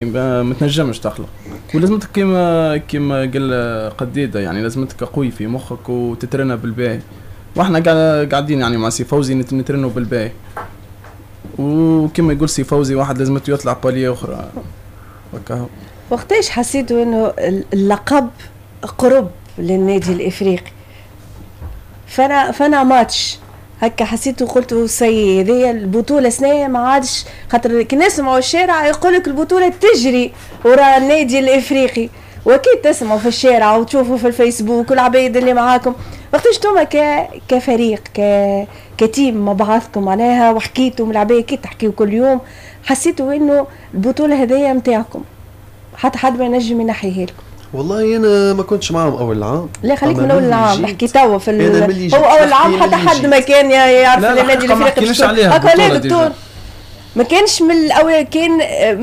ما تنجمش تخلق، ولازمتك كيما قال قديده، يعني لازمتك قوي في مخك وتترنى بالباهي، واحنا قاعدين يعني مع سي فوزي نترنوا بالباهي، وكما يقول سي فوزي واحد لازم يطلع palier اخرى. وكهو. وقتاش حسيتوا انه اللقب قرب للنادي الافريقي؟ فانا ماتش هكا حسيت وقلت ça y est، هذه البطولة سنة ما عادش، خاطر كي نسمعوا الشارع يقول لك البطولة تجري وراء النادي الافريقي، واكيد تسمعوا في الشارع وتشوفوا في الفيسبوك والعباد اللي معاكم. وقتاش انتوما كفريق ك team مع بعضكم معناها وحكيتوا من العباد، كي تحكيوا كل يوم، حسيتوا انه البطولة هذيا نتاعكم حتى حد ما ينجم ينحيها لكم؟ والله انا ما كنتش معاهم اول العام. لا خليك من اول العام، نحكي توا في هو اول العام حتى حد ما كان يعرف النادي الافريقي. هكا لا دكتور، ما كانش من الاول، كان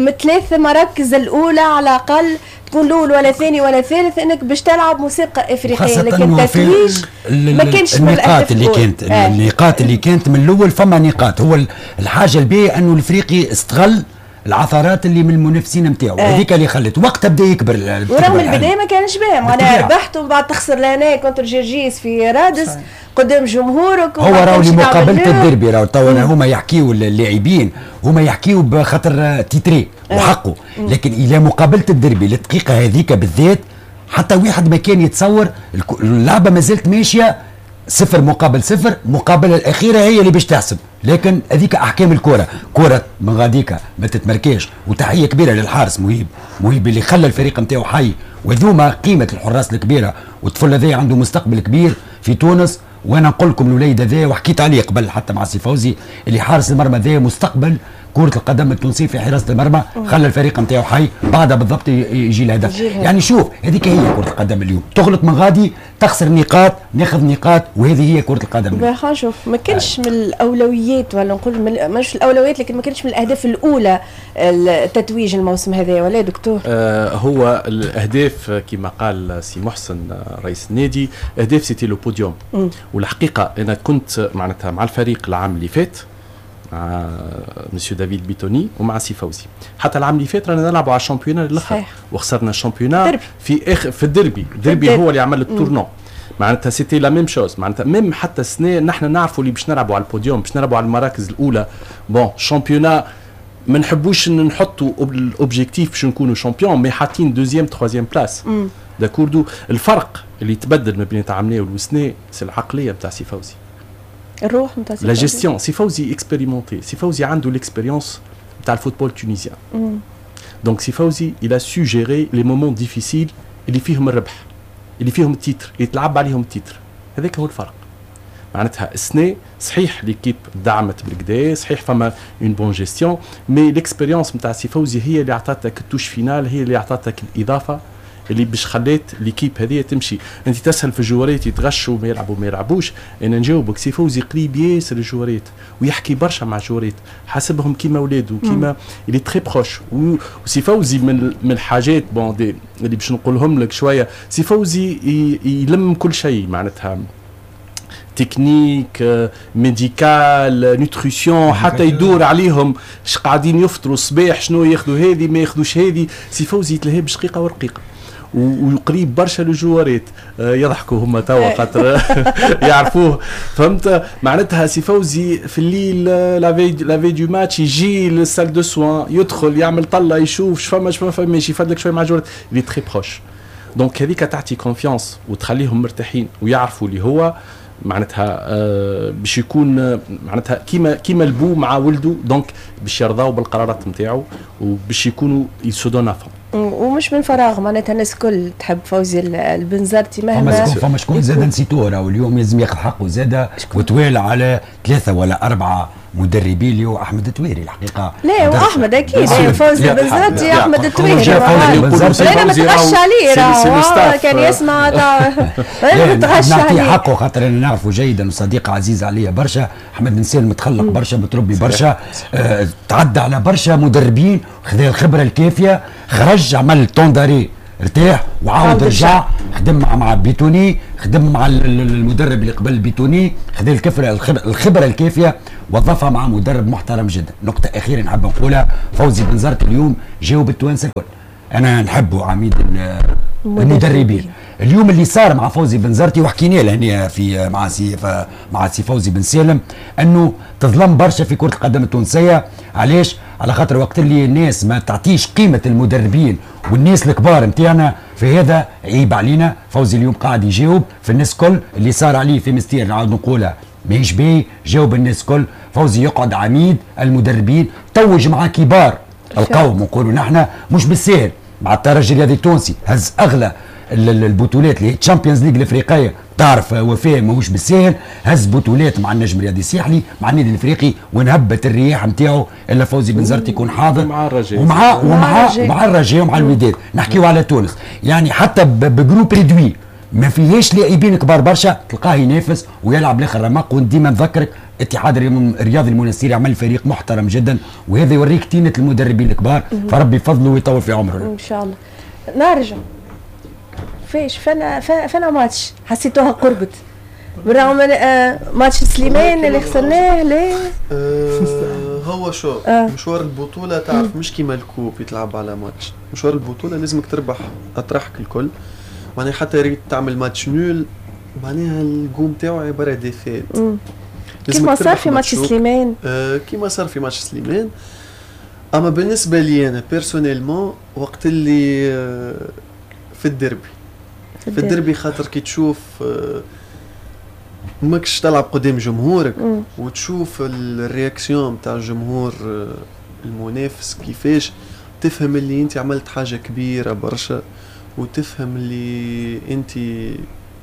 من ثلاث مراكز الاولى على الاقل تكون الاول ولا ثاني ولا ثالث انك باش تلعب مسابقة افريقيه، لكن التتويج ما كانش من النقاط اللي كانت النقاط اللي كانت من الاول فما نقاط. هو الحاجة الباهيه انه الافريقي استغل العثرات اللي من المنافسين نتاعو، هذيك اللي خلت وقتها بدا يكبر. ورغم البداية ما كانش باهي، معناها ربحت ومن بعد تخسر لهنا contre جرجيس في رادس قدام جمهورك. هو راهو لمقابلة الديربي، راهو توا هما يحكيوا اللاعبين، هما يحكيوا بخاطر titré وحقه، لكن الى مقابله الديربي الدقيقة هذيك بالذات حتى واحد ما كان يتصور. اللعبة ما زالت ماشية 0-0، المقابلة الاخيرة هي اللي باش تحسب، لكن هذيك احكام الكره، كره من غاديكا ما تتمركاش. وتحية كبيرة للحارس مهيب، مهيب اللي خلى الفريق نتاعو حي، وذوما قيمة الحراس الكبيرة، والطفل هذا عنده مستقبل كبير في تونس. وانا نقول لكم الوليد هذا، وحكيت عليه قبل حتى مع سي فوزي، اللي حارس المرمى هذا مستقبل كرة القدم التونسية في حراسة المرمى، خلى الفريق نتاعو حي، بعدها بالضبط يجي الهدف. يعني شوف هذيك هي كرة القدم اليوم، تغلط من غادي تخسر نقاط، ناخذ نقاط، وهذه هي كرة القدم. خلينا نشوف، ما كانش من الاولويات، ولا نقول مش الاولويات، لكن ما كانش من الاهداف الاولى التتويج الموسم هذا، ولا دكتور؟ هو الاهداف كما قال سي محسن رئيس النادي، اهداف c'était le podium. والحقيقة انا كنت معناتها مع الفريق العام اللي فات مع مسيو دافيد بيتوني ومع سي فوزي، حتى العام اللي فات رانا نلعبوا على ال championnat للاخر، وخسرنا ال championnat في اخر في الديربي. الديربي هو اللي عمل ال tournant، معناتها c'était la même chose. معناتها même حتى السنة نحن نعرفوا اللي باش نلعبوا على البوديوم، باش نلعبوا على المراكز الاولى. bon championnat ما نحبوش نحطوا ال objectif باش نكونوا champion، mais حاطين deuxième troisième place، d'accord. الفرق اللي تبدل ما بين عامناول والسنة c'est العقلية نتاع سي فوزي، الروح نتاع la gestion. سي فوزي expérimenté، سي فوزي عنده l'expérience نتاع ال football tunisien، donc سي فوزي il a su gérer les moments difficiles اللي فيهم الربح، اللي فيهم ال titre، اللي تلعب عليهم ال titre. هذاك هو الفرق. معناتها السنة صحيح l'équipe دعمت بالكدا، صحيح فما une bonne gestion، mais l'expérience نتاع سي فوزي هي اللي عطاتك ال touche finale، هي اللي عطاتك الاضافة اللي باش خلات l'équipe هذه تمشي. انت تسهل في الجوارات يتغشوا ما يلعبوا ما يلعبوش، انا نجاوبك سي فوزي قريب ياسر الجوارات ويحكي برشا مع الجوارات، حاسبهم كيما ولاده، كيما il est très proche. وسي فوزي من الحاجات bon des اللي باش نقولهم لك شويه، سي فوزي يلم كل شيء، معناتها technique، médical، nutrition، حتى يدور عليهم اش قاعدين يفطروا الصباح، شنو ياخذوا هذه ما ياخذوش هذه. سي فوزي يتلهي بشقيقه ورقيقه وقريب برشا للجوارات، يضحكوا هما توا خاطر يعرفوه، فهمت؟ معناتها سي فوزي في الليل la veille du match يجي لل salle de soins، يدخل يعمل طله، يشوف شفما شفما فماش، يفدلك شوية مع الجوارات، il est très proche. donc هذيك تعطي confiance وتخليهم مرتاحين ويعرفوا اللي هو معناتها باش يكون معناتها كيما البو مع ولده، donc باش يرضاو بالقرارات نتاعو وباش يكونوا ils se donnent à fond. ومش من فراغ معناتها الناس الكل تحب فوزي البنزرتي مهما فما شكون زاد نسيتوه، راهو اليوم لازم ياخذ حقه زاد وتوالى على 3 ولا 4 مدربين، اللي هو احمد التويري الحقيقة. لا واحمد اكيد فوزي البنزرتي احمد التويري، انا متغش عليه راهو كان يسمع، انا متغش عليه. نعطيه حقه خاطر انا نعرفه جيدا وصديق عزيز عليا برشا. احمد انسان متخلق برشا، متربي برشا، تعدى على برشا مدربين، خذا الخبرة الكافيه، خرج عمل temps d'arrêt ارتاح وعاود رجع خدم مع بيتوني، خدم مع المدرب اللي قبل بيتوني، خذ الخبرة الكافيه وظفها مع مدرب محترم جدا. نقطة اخيرة نحب نقولها، فوزي بنزرت اليوم جاوب التوانسة الكل، انا نحبه عميد المدربين. اليوم اللي صار مع فوزي بنزرتي وحكينا له هنا في مع سي فوزي بن سالم انه تظلم برشا في كره القدم التونسية. علاش؟ على خاطر وقت اللي الناس ما تعطيش قيمة المدربين والناس الكبار نتاعنا، فهذا عيب علينا. فوزي اليوم قاعد يجاوب في الناس كل اللي صار عليه في مستير، نعاود نقولها ماهيش باهي، جاوب الناس كل. فوزي يقعد عميد المدربين، توج مع كبار القوم نقولوا نحن مش بالساهل، مع الترجي الرياضي التونسي هز اغلى البطولات اللي هي Champions League الافريقية، تعرف وفاء ماهوش بالساهل، هز بطولات مع النجم الرياضي الساحلي مع النادي الافريقي، ونهبت الرياح نتاعو الا فوزي بنزرتي يكون حاضر مع الرجاء ومع ومع مع الرجاء ومع الوداد. نحكيو على تونس يعني حتى ب groupe réduit ما فيهاش لاعبين كبار برشا تلقاه ينافس ويلعب لاخر رمق. وديما نذكرك اتحاد الرياضي المنستيري عمل فريق محترم جدا، وهذا يوريك تينه المدربين الكبار، فربي يفضله ويطول في عمره ان شاء الله. نرجع فاش فانا ماتش حسيتوها قربت بالرغم ماتش سليمان اللي خسرناه. ليه؟ هو شو مشوار البطولة تعرف مش كيما ال coupe يتلعب على ماتش، مشوار البطولة لازمك تربح أطراحك الكل، معناها حتى ريت تعمل match nul معناها الجوم تاعو عبارة défaite. كيما صار في ماتش سليمان. كيما صار في ماتش سليمان. أما بالنسبة لي أنا personnellement وقت اللي في الديربي، في الديربي خاطر كي تشوف ماكش تلعب قدام جمهورك وتشوف ال réaction تاع الجمهور المنافس كيفاش، تفهم اللي انت عملت حاجة كبيرة برشا، وتفهم اللي انت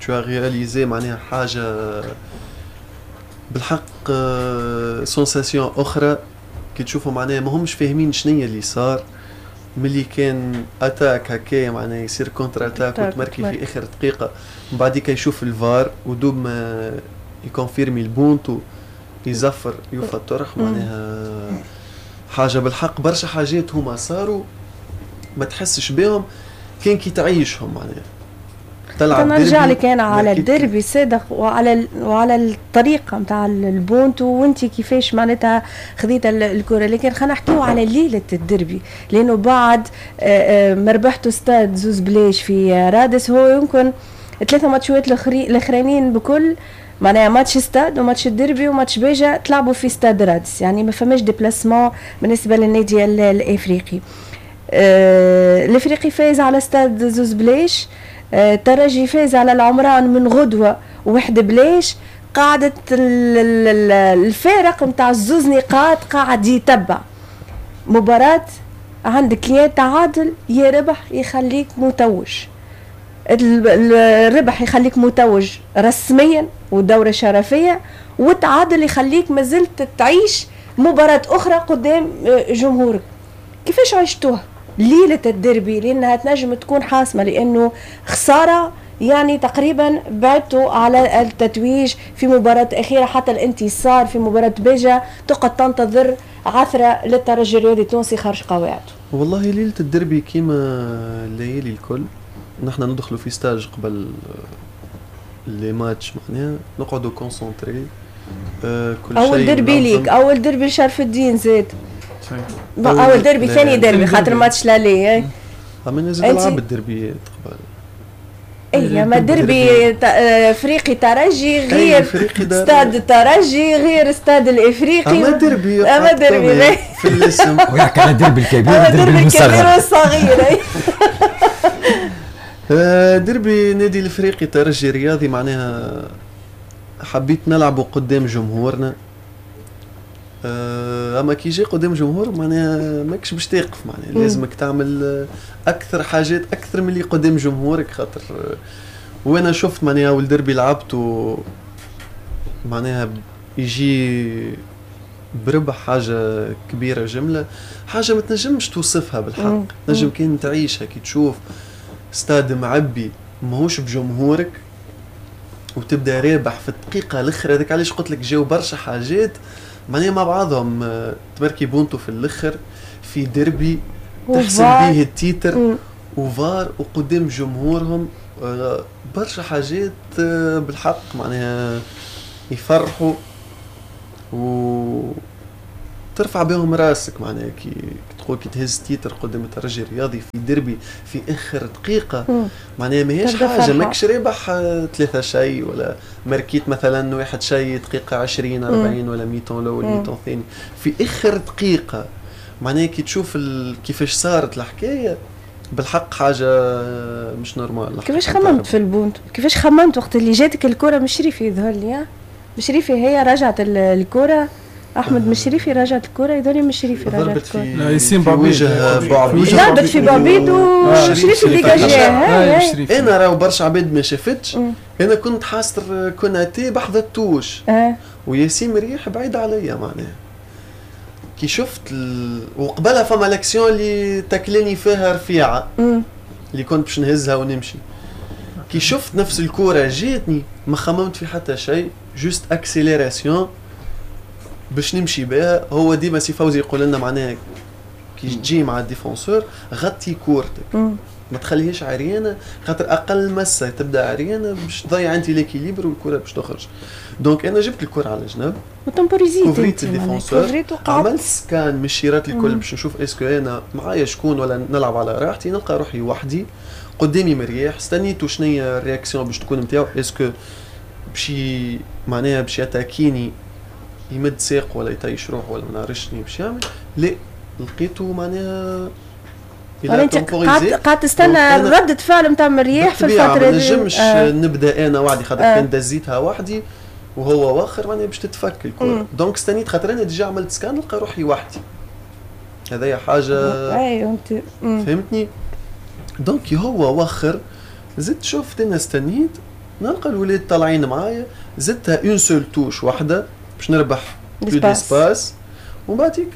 tu as réalisé معناها حاجة بالحق sensation اخرى كي تشوفوا معناها ما همش فاهمين شنيا اللي صار، ملي كان attaque هكايا معناها يصير contre-attaque وتمركي في اخر دقيقة، من بعديك يشوف الفار ودوب ما يكونفيرمي البونتو يزفر يوفى الطرح، معناها حاجة بالحق برشا حاجات هما صاروا ما تحسش بهم كان كي تعيشهم معناها. تلعب نرجع لك انا على الديربي صادق وعلى الطريقة نتاع البونتو وانت كيفاش معناتها خذيت الكره، لكن خلينا نحكيو على ليلة الديربي، لانه بعد ما ربحتوا ستاد زوز بلاش في رادس، هو يمكن ثلاثة ماتشات الاخرانيين بكل معناها ماتش ستاد وماتش الديربي وماتش بيجا تلعبوا في ستاد رادس، يعني ما فماش déplacement بالنسبة للنادي الافريقي. الافريقي فاز على ستاد زوز بلاش، الترجي فاز على العمران من غدوه وحده بلاش، قاعدة الفارق نتاع زوز نقاط قاعد يتبع. مباراة عندك يا تعادل يا ربح يخليك متوج، الربح يخليك متوج رسميا ودوره شرفيه، والتعادل يخليك مازلت تعيش مباراة اخرى قدام جمهورك. كيفاش عشتوها ليلة الديربي؟ لأنها تنجم تكون حاسمة، لأنه خسارة يعني تقريبا بعدتوا على التتويج في مباراة أخيرة، حتى الانتصار في مباراة بيجا تقعد تنتظر عثرة للترجي الرياضي التونسي خارج قواعده. والله ليلة الديربي كيما الليالي الكل نحن ندخلوا في stage قبل les matchs، معناها نقعدوا concentrés كل شيء. أول ديربي ليك، أول ديربي شرف الدين زاد. اول ديربي، ثاني ديربي خاطر ماتش l'aller. اما نزيد نلعب الديربيات قبل. اي ما ديربي افريقي ترجي غير ستاد الترجي غير ستاد الافريقي. اما ديربي، اما ديربي في الاسم. ويحكي على الديربي الكبير والديربي الكبير والصغير. ديربي نادي الافريقي ترجي رياضي معناها حبيت نلعبه قدام جمهورنا، اما كي يجي قدام جمهور معناها ماكش باش تقف، معناها لازمك تعمل اكثر حاجات اكثر من اللي قدام جمهورك، خاطر وانا شفت معناها اول دربي لعبته معناها يجي بربح حاجة كبيرة جملة، حاجة ما تنجمش توصفها بالحق، تنجم كان تعيشها كي تشوف ستاد معبي ماهوش بجمهورك وتبدا رابح في الدقيقة الاخرى. هذاك علاش قلت لك جاو برشا حاجات معناها مع بعضهم، تمركي بونتو في الاخر في ديربي تحسن به ال titre وفار وقدام جمهورهم، برشا حاجات بالحق معناها يفرحوا و ترفع بهم راسك. معناها كي تقول كي تهز titre قدام الترجي الرياضي في دربي في اخر دقيقة، معناها ماهيش حاجة، ماكش رابح 3-0 ولا ماركيت مثلا 1-0 دقيقة 20 40 ولا mi-temps الاول mi-temps الثاني، في اخر دقيقة معناها كي تشوف كيفاش صارت الحكاية بالحق حاجة مش normal. كيفاش خممت في البونت؟ كيفاش خممت وقت اللي جاتك الكره من شريفي؟ يظهر لي مشريفي هي رجعت الكره، احمد مشريفي رجعت الكره، يظهر لي مشريفي رجعت الكره. لا ياسين بعبيد ضربت في بعبيد وشريفي dégagé. انا راهو برشا عباد ما شافتش، انا كنت حاصر كوناتي بحذا ال touche وياسين مريح بعيد عليا. معناها كي شفت وقبلها فما l'action اللي تاكلني فيها رفيعة اللي كنت باش نهزها ونمشي، كي شفت نفس الكورة جاتني ما خممت في حتى شيء، juste accélération باش نمشي بها. هو ديما سي فوزي يقول لنا معناها كي تجي مع ال défenseur غطي كورتك، ما تخليهاش عريانه، خاطر اقل مسه تبدا عريانه باش تضيع انت l'équilibre والكره باش تخرج. donc انا جبت الكره على جنب و temporisé كوفريت ال défenseur، عملت scan من الشيرات الكل باش نشوف est-ce que انا معايا شكون ولا نلعب على راحتي. نلقى روحي وحدي قدامي مرياح، استنيتو شنيا ال réaction باش تكون نتاعو، est-ce que باش معناها باش يتاكيني يمد ساق ولا يطيش روحه ولا ما نعرفش شنو باش يعمل. لا لقيته معناها انت قعدت تستنى ردة فعل نتاع مرياح في الفترة دي. ما نجمش نبدا انا وحدي، خاطر كان دزيتها وحدي وهو واخر معناها باش تتفك الكره. donc استنيت خاطر انا déjà عملت scan نلقى روحي وحدي، هذايا حاجة اي انت فهمتني. donc هو وخر، زدت شفت انا استنيت نلقى الولاد طالعين معايا، زدتها une seule touche واحدة باش نربح plus d'espace، ومن بعد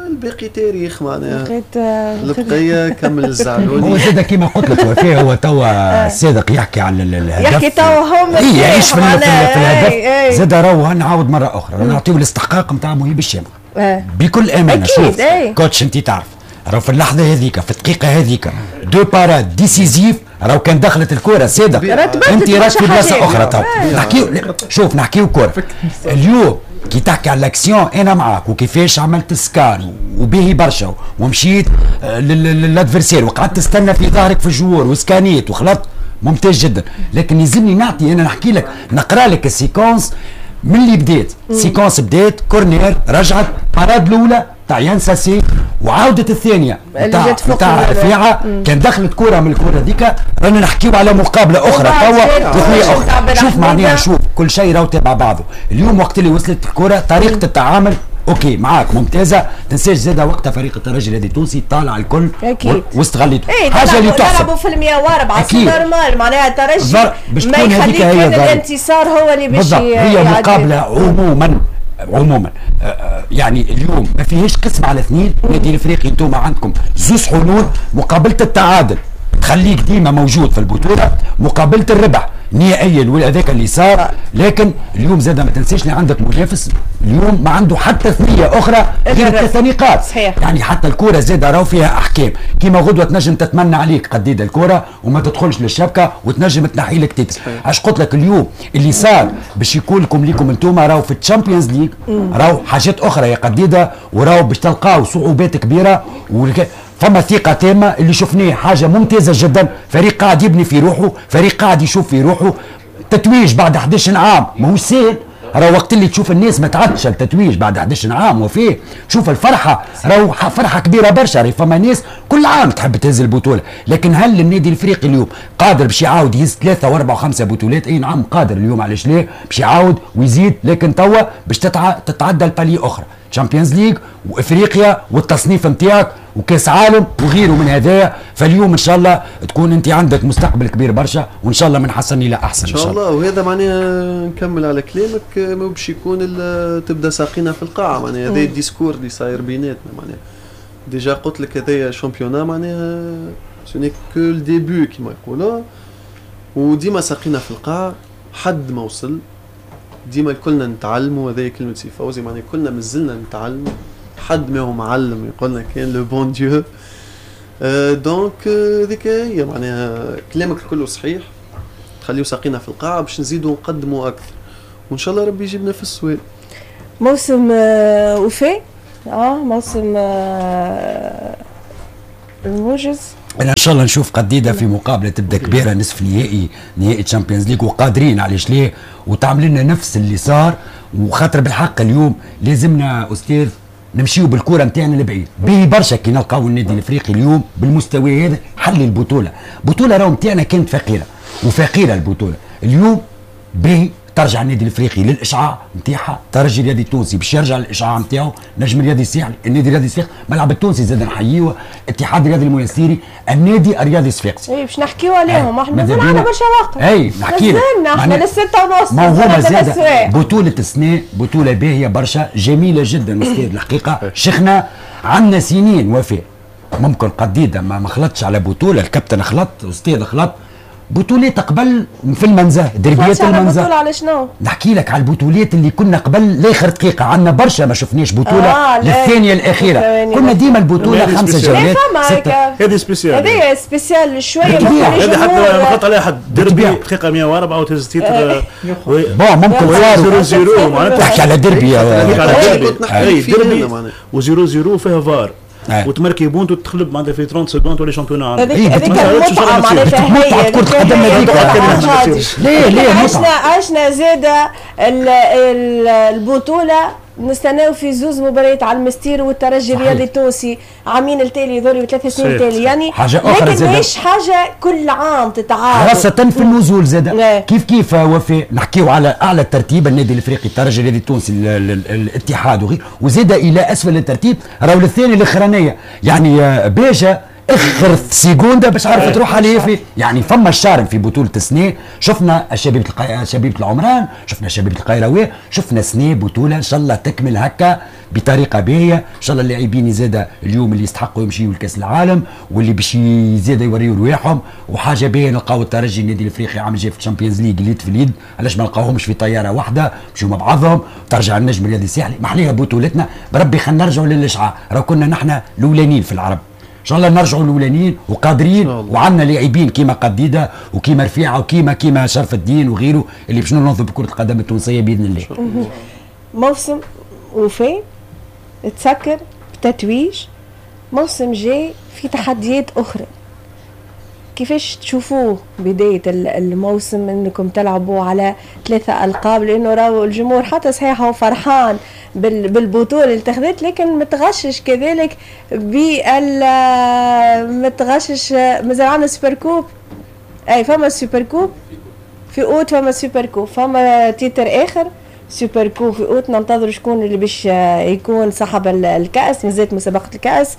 الباقي تاريخ معناها البقية كمل الزعلوني. هو زاد كيما قلت لك وفاء، هو توا الصادق يحكي على الهدف، يحكي توا هم يعيش في الهدف. زاد راهو نعاود مرة اخرى نعطيو الاستحقاق نتاع مهيب الشامخ بكل امانه. شوف coach انت تعرف راهو في اللحظة هذيك في الدقيقة هذيك deux parades décisives، راهو كان دخلت الكره صادق انت راك في بلاصة اخرى. تو نحكيو، شوف نحكيو كره اليوم كي تحكي على l'action انا معاك، وكيفاش عملت scan وباهي برشا ومشيت لل adversaire وقعدت تستنى في ظهرك في ال joueur وسكانيت وخلطت، ممتاز جدا. لكن يلزمني نعطي انا نحكي لك نقرا لك ال séquence من اللي بدات. séquence بدات corner، رجعت parade الاولى تاع يانساسي وعاودت الثانية تاع رفيعة. كان دخلت كره من الكره هذيك رانا نحكيو على مقابله اخرى توا وثنية اخرى. شوف معناها شوف كل شيء راهو تابع بعضه. اليوم وقت اللي وصلت الكره طريقه التعامل OK معاك ممتازة، تنساش زاد وقتها فريق الترجي الذي التونسي طالع الكل واستغليته. حاجة اللي تحسب لعبوا في 104 c'est normal معناها الترجي ما يخليك كان الانتصار هو اللي باش هي مقابله عموما يعني اليوم ما فيهاش قسم على اثنين. النادي الافريقي انتم عندكم زوز حلول، مقابله التعادل تخليك ديما موجود في البطولة، مقابله الربح نهائيا هذاك اللي صار. لكن اليوم زاد ما تنساش اللي عندك منافس اليوم ما عنده حتى ثنيه اخرى غير 3 نقاط. صحيح. يعني حتى الكره زاد راهو فيها احكام، كيما غدوه تنجم تتمنى عليك قديده الكره وما تدخلش للشبكه وتنجم تنحي لك titre. اش قلت لك اليوم اللي صار باش يكون لكم ليكم انتم راهو في ال Champions League راهو حاجات اخرى يا قديده، وراهو باش تلقاو صعوبات كبيرة فما ثقة تامة اللي شفناه حاجة ممتازة جدا. فريق قاعد يبني في روحه، فريق قاعد يشوف في روحه. تتويج بعد 11 عام ماهوش سهل، راهو وقت اللي تشوف الناس ما تعدش التتويج بعد 11 عام وفيه تشوف الفرحة، راهو فرحة كبيرة برشا. راهي فما ناس كل عام تحب تهز البطولة، لكن هل النادي الافريقي اليوم قادر باش يعاود يهز 3 و4 و5 بطولات؟ اي نعم قادر اليوم، علاش لا باش يعاود ويزيد، لكن توا باش تتعدى ال palier اخرى، Champions League وافريقيا والتصنيف نتاعك وكاس عالم وغيره من هذايا. فاليوم ان شاء الله تكون انت عندك مستقبل كبير برشا، وان شاء الله من حسن الى احسن ان شاء الله. وهذا معناها نكمل على كلامك، ما باش يكون تبدا ساقينا في القاعة، معناها هذا ال discours اللي صاير بيناتنا. معناها déjà قلت لك هذايا championnat معناها ce n'est que le début كيما يقولوا، وديما ساقينا في القاع، حد ما وصل، ديما كلنا نتعلموا. هذه كلمة سي فوزي، معناها كلنا مازلنا نتعلموا، حد ما هو معلم يقولنا كان le bon Dieu. donc هذيك هي معناها كلامك كله صحيح، تخليو ساقينا في القاعة باش نزيدوا نقدموا اكثر، وان شاء الله ربي يجيبنا في السويل. موسم وفاء، موسم الموجز. انا ان شاء الله نشوف قديده في مقابله تبدا كبيرة، نصف نهائي، نهائي Champions League، وقادرين علاش ليه، وتعمل لنا نفس اللي صار. وخاطر بالحق اليوم لازمنا استاذ نمشيو بالكرة نتاعنا لبعيد، باهي برشا كي نلقاو النادي الافريقي اليوم بالمستوى هذا حل البطولة، بطوله راهو نتاعنا كانت فقيرة وفقيره البطولة، اليوم باهي ترجع النادي الافريقي للاشعاع نتاعها، ترجي الرياضي التونسي باش يرجع للاشعاع نتاعو، نجم الرياضي الساحلي، النادي الرياضي الصفاقسي، ملعب التونسي زاد نحيوه، اتحاد الرياضي المنستيري، النادي الرياضي الصفاقسي. اي باش نحكيو عليهم، احنا مازال عندنا برشا وقت. اي نحكي لك احنا للستة ونص. ما هو زاد بطولة السنة بطولة باهية برشا، جميلة جدا استاذ الحقيقة، شيخنا عندنا سنين وفاء ممكن قديدة ما خلطش على بطولة، الكابتن خلط، استاذ خلط، بطولات قبل في المنزه، دربيات المنزه. بطولة على شنو؟ نحكي لك على البطولات اللي كنا قبل لاخر دقيقة، عندنا برشا ما شفناش بطولة للثانية الأخيرة، كنا ديما البطولة 5 جولات 6. هذه spéciale، هذه spéciale شوية. هذه حتى ما خلط عليها حد، دربي دقيقة 104 وتهز titre. bon ممكن صار 0-0 معناتها. تحكي على دربي، دربي و0-0 فيها فار. وتمركي but وتخلب معناتها في 30 secondes تولي champion. هذيك المتعة معناتها، هي كرة القدم هذيك. ليه عشنا زاده البطولة نستناو في زوز مباريات على المستير والترجي الرياضي التونسي عامين التالي يظهروا 3 سنين التالي، يعني حاجة اخرى لكن ماهيش حاجة كل عام تتعاود، خاصة في النزول زاد كيف كيف وفاء. نحكيو على اعلى الترتيب النادي الافريقي، الترجي الرياضي التونسي، الاتحاد وغيره، وزاد الى اسفل الترتيب راهو الثاني الاخرانية، يعني باجا اخر seconde باش عرفت تروح عليه في، يعني فما ال charme في بطوله السنة. شفنا شبيبة العمران، شفنا شبيبة القيروان، شفنا سنة بطوله ان شاء الله تكمل هكا بطريقة باهيه، ان شاء الله اللاعبين زاد اليوم اللي يستحقوا يمشيوا لكاس العالم واللي باش زاد يوريوا رواحهم، وحاجه باهيه نلقاو الترجي النادي الافريقي عام جاي في ال Champions League اليد في اليد، علاش ما نلقاوهمش في طيارة واحدة مشيو مع بعضهم، ترجع النجم الرياضي الساحلي، محليها بطولتنا بربي. خلينا نرجعوا للاشعاع، راه كنا نحن الاولانيين في العرب، ان شاء الله نرجعوا الاولانيين وقادرين، وعندنا لاعبين كيما قديده وكيما رفيعة وكيما شرف الدين وغيره اللي باش ننظم بكره القدم التونسية باذن الله. موسم وفاء تسكر بتتويج، موسم جاي في تحديات اخرى، كيفاش تشوفوه بداية الموسم انكم تلعبوا على 3 ألقاب؟ لانه راهو الجمهور حتى صحيح هو فرحان بالبطولة اللي اتخذت، لكن متغشش كذلك بال متغشش. مازال عندنا super coupe، اي فما super coupe في اوت، فما super coupe، فما titre اخر super coupe في اوت، ننتظر شكون اللي باش يكون صاحب الكأس، مازالت مسابقة الكأس.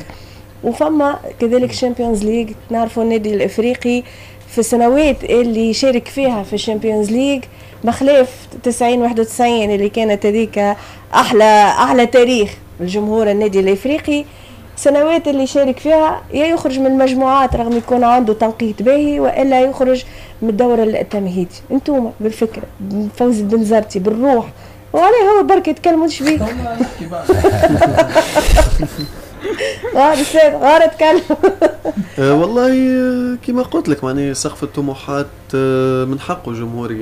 وفما كذلك Champions League، نعرفوا النادي الافريقي في السنوات اللي شارك فيها في ال Champions League بخلاف 90 91 اللي كانت هذيك احلى تاريخ الجمهور النادي الافريقي، سنوات اللي شارك فيها يا يخرج من المجموعات رغم يكون عنده تنقيط باهي، والا يخرج من الدور التمهيدي. انتم بالفكرة فوزي البنزرتي بالروح وعليه هو برك يتكلموا شبيه. استاذ غير اتكلم. والله كما قلت لك معناها سقف الطموحات من حقه الجمهور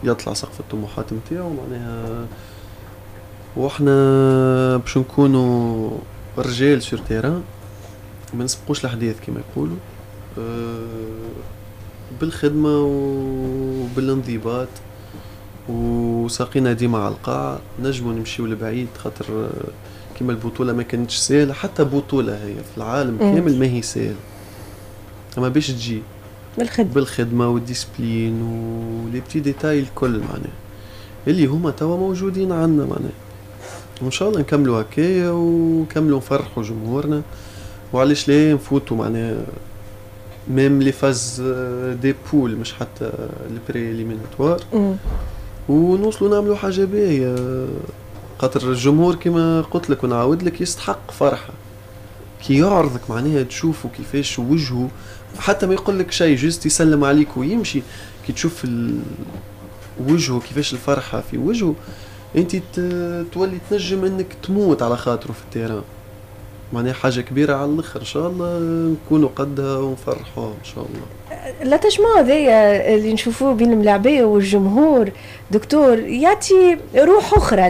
يطلع سقف الطموحات نتاعو معناها، واحنا باش نكونوا رجال sur terrain ما نسبقوش الاحداث كما يقولوا، بالخدمة وبالانضباط وساقينا ديما على القاع نجموا نمشيو لبعيد، خاطر كما البطولة ما كانتش سهلة، حتى بطوله هي في العالم كامل ما هي سهلة، اما باش تجي بالخدمة وال discipline و les petits détails الكل معناها اللي هما توا موجودين عندنا معناها، وان شاء الله نكملوا هكايا ونكملوا نفرحوا جمهورنا، وعلاش لا نفوتوا معناها même les phases des poules مش حتى ال pré-éliminatoires، ونوصلوا نعملوا حاجة باهيه، خاطر الجمهور كما قلت لك ونعاود لك يستحق فرحه كي يعرضك معناها تشوفه كيفاش وجهه، حتى ما يقول لك شيء juste يسلم عليك ويمشي، كي تشوف وجهه كيفاش الفرحة في وجهه انت تولي تنجم انك تموت على خاطره في ال terrain. معناها حاجة كبيرة على الاخر، ان شاء الله نكونوا قدها ونفرحوها ان شاء الله. l'attachement هذايا اللي نشوفوه بين الملاعبيه والجمهور دكتور يعطي روح اخرى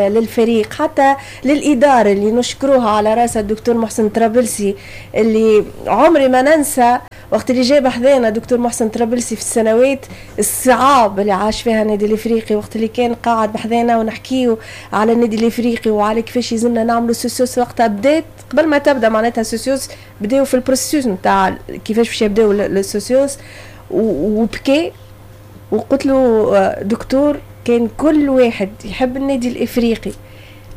للفريق، حتى للادارة اللي نشكروها على راسها الدكتور محسن طرابلسي، اللي عمري ما ننسى وقت اللي جاب حذانا دكتور محسن طرابلسي في السنوات الصعاب اللي عاش فيها النادي الافريقي، وقت اللي كان قاعد بحذانا ونحكيو على النادي الافريقي وعلى كيفاش يلزمنا نعملوا socios. وقتها بدات قبل ما تبدا معناتها socios، بداو في ال processus نتاع كيفاش باش يبداو ال socios، وبكي وقلت له دكتور كان كل واحد يحب النادي الافريقي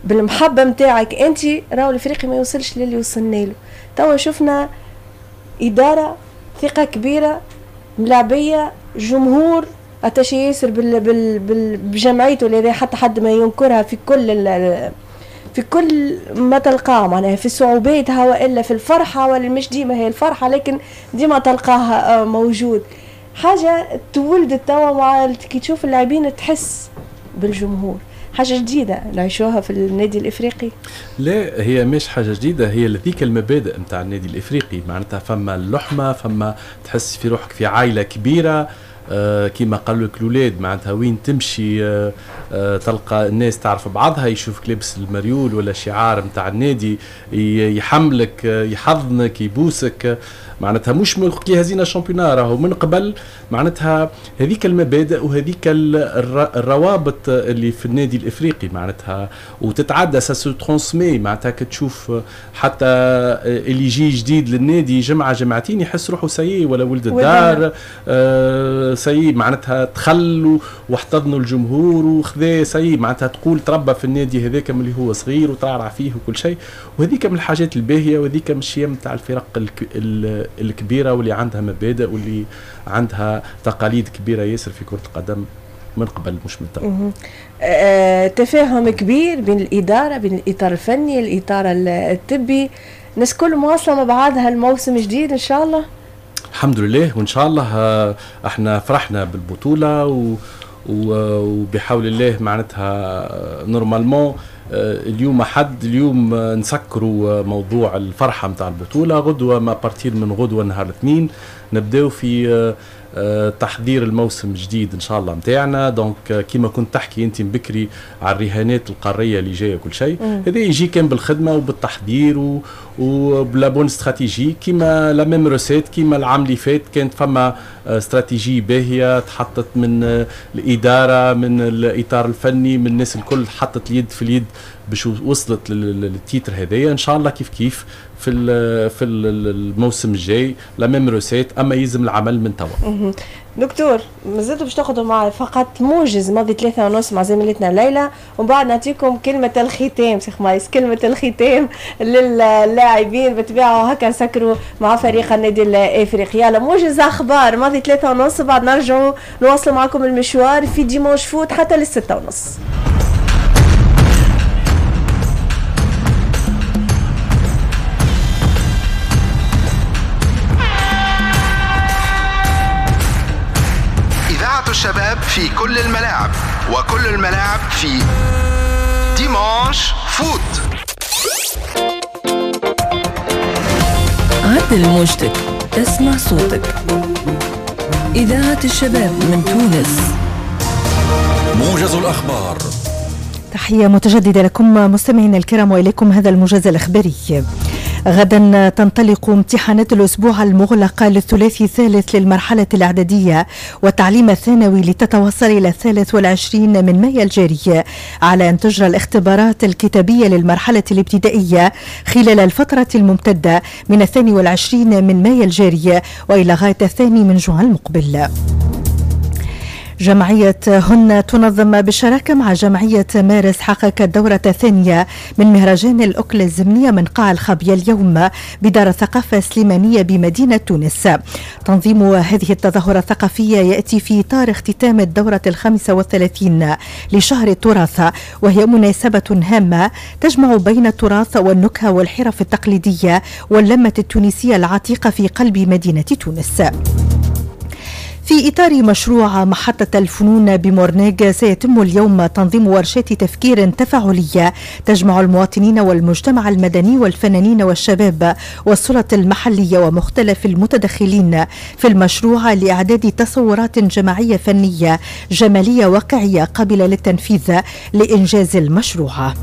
بالمحبة نتاعك انت، راهو الافريقي ما يوصلش للي وصلنا له. توا شفنا ادارة ثقة كبيرة، ملاعبيه، جمهور attaché ياسر بجمعيته اللي حتى حد ما ينكرها في كل ما تلقاه، معناها في صعوباتها والا في الفرحة، ولا مش ديما هي الفرحة لكن ديما تلقاها موجود. حاجة تولدت توا مع كي تشوف اللاعبين تحس بالجمهور، حاجة جديدة نعيشوها في النادي الافريقي. لا هي مش حاجة جديدة، هي ذيك المبادئ نتاع النادي الافريقي، معناتها فما اللحمة، فما تحس في روحك في عائلة كبيرة، كيما قالوا لك الاولاد معناتها وين تمشي تلقى الناس تعرف بعضها، يشوفك لابس المريول ولا شعار نتاع النادي يحملك، يحضنك، يبوسك، معناتها مش من كي هزينا championnat، راهو من قبل معناتها هذيك المبادئ وهذيك الروابط اللي في النادي الافريقي معناتها، وتتعدى ça se transmet، معناتها كتشوف حتى اللي يجي جديد للنادي جمعه جمعتين يحس روحه ça y est ولا ولد الدار، ça y est معناتها تخلوا واحتضنوا الجمهور وخذا ça y est، معناتها تقول تربى في النادي هذاك من اللي هو صغير وترعرع فيه وكل شيء، وهذيك من الحاجات الباهيه، وهذيك من الشيم تاع الفرق الكبيرة واللي عندها مبادئ واللي عندها تقاليد كبيرة ياسر في كره القدم من قبل مش من تو. تفاهم كبير بين الادارة، بين الاطار الفني، الاطار الطبي، الناس كل مواصلة مع بعضها. الموسم جديد ان شاء الله. الحمد لله، وان شاء الله احنا فرحنا بالبطولة وبحول الله معناتها normalement اليوم حد اليوم نسكروا موضوع الفرحة نتاع البطولة، غدوه à partir من غدوه نهار الاثنين نبداو في تحضير الموسم الجديد ان شاء الله نتاعنا. donc كيما كنت تحكي انت بكري على الرهانات القارية اللي جاية كل شيء، هذا يجي كان بالخدمة وبالتحضير وب la bonne stratégie، كيما la même recette كيما العام اللي فات كانت فما استراتيجي باهيه تحطت من الادارة، من الاطار الفني، من الناس الكل، حطت اليد في اليد باش وصلت لل titre هذايا. ان شاء الله كيف كيف في الموسم الجاي la même recette، اما يلزم العمل من توا. دكتور مازلتوا باش تاخذوا مع فقط موجز ماضي 3:30 مع زميلتنا ليلى، ومن بعد نعطيكم كلمة الختام سي خمايس، كلمة الختام للاعبين بالطبيعة، وهكا نسكروا مع فريق النادي الافريقي. يلا موجز اخبار ماضي 3:30، بعد نرجعوا نواصلوا معكم المشوار في Dimanche Foot حتى لل6:30. الشباب في كل الملاعب، وكل الملاعب في Dimanche Foot. عدل موجتك، اسمع صوتك. إذاعة الشباب من تونس. موجز الأخبار. تحية متجددة لكم مستمعينا الكرام، وإليكم هذا الموجز الإخباري. غدا تنطلق امتحانات الأسبوع المغلقة للثلاثي الثالث للمرحلة الإعدادية والتعليم الثانوي لتتواصل إلى 23 من مايو الجاري، على أن تجرى الاختبارات الكتابية للمرحلة الابتدائية خلال الفترة الممتدة من 22 من مايو الجاري وإلى غاية 2 من جوان المقبل. جمعية هن تنظم بالشراكة مع جمعية مارس حقق الدورة الثانية من مهرجان الأكلة الزمنية من قاع الخابية اليوم بدار الثقافة السليمانية بمدينة تونس. تنظيم هذه التظاهرة الثقافية يأتي في إطار اختتام الدورة 35 لشهر التراث، وهي مناسبة هامة تجمع بين التراث والنكهة والحرف التقليدية واللمة التونسية العتيقة في قلب مدينة تونس. في إطار مشروع محطة الفنون بمورناغ، سيتم اليوم تنظيم ورشات تفكير تفاعلية تجمع المواطنين والمجتمع المدني والفنانين والشباب والسلطة المحلية ومختلف المتدخلين في المشروع لإعداد تصورات جماعية فنية جمالية واقعية قابلة للتنفيذ لإنجاز المشروع.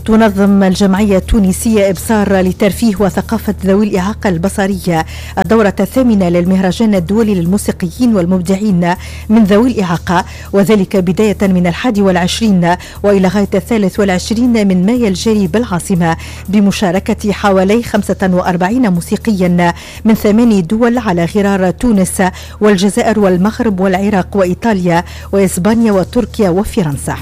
تنظم الجمعية التونسية إبصار لترفيه وثقافة ذوي الإعاقة البصرية الدورة الثامنة للمهرجان الدولي للموسيقيين والمبدعين من ذوي الإعاقة، وذلك بداية من 21 وإلى غاية 23 من مايو الجاري بالعاصمة، بمشاركة حوالي 45 موسيقيا من 8 دول على غرار تونس والجزائر والمغرب والعراق وإيطاليا وإسبانيا وتركيا وفرنسا.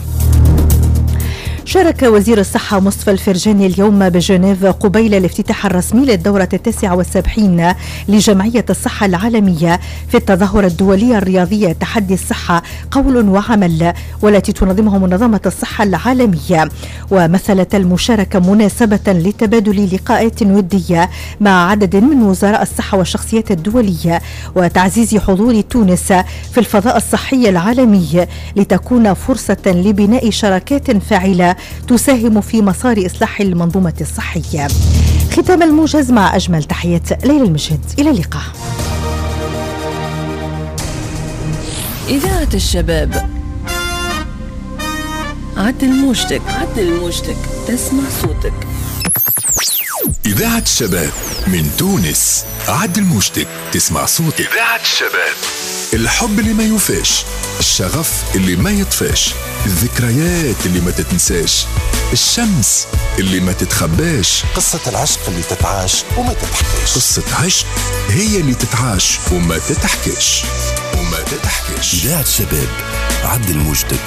شارك وزير الصحة مصطفى الفرجاني اليوم بجنيف قبيل الافتتاح الرسمي للدورة 79 لجمعية الصحة العالمية في التظاهرة الدولية الرياضية تحدي الصحة قول وعمل، والتي تنظمه منظمة الصحة العالمية. ومثلت المشاركة مناسبة لتبادل لقاءات ودية مع عدد من وزراء الصحة والشخصيات الدولية وتعزيز حضور تونس في الفضاء الصحي العالمي، لتكون فرصة لبناء شراكات فاعلة تساهم في مسار إصلاح المنظومة الصحية. ختام الموجز مع أجمل تحيات ليلى المشهد، إلى اللقاء. إذاعة الشباب، عدل موجتك، عدل موجتك، تسمع صوتك. إذاعة الشباب من تونس، عدل موجتك، تسمع صوتك. إذاعة الشباب، الحب اللي ما يوفاش، الشغف اللي ما يطفاش، الذكريات اللي ما تتنساش، الشمس اللي ما تتخباش، قصة العشق اللي تتعاش وما تتحكاش. قصة عشق هي اللي تتعاش وما تتحكاش وما تتحكاش. إذاعة الشباب، عدل موجتك،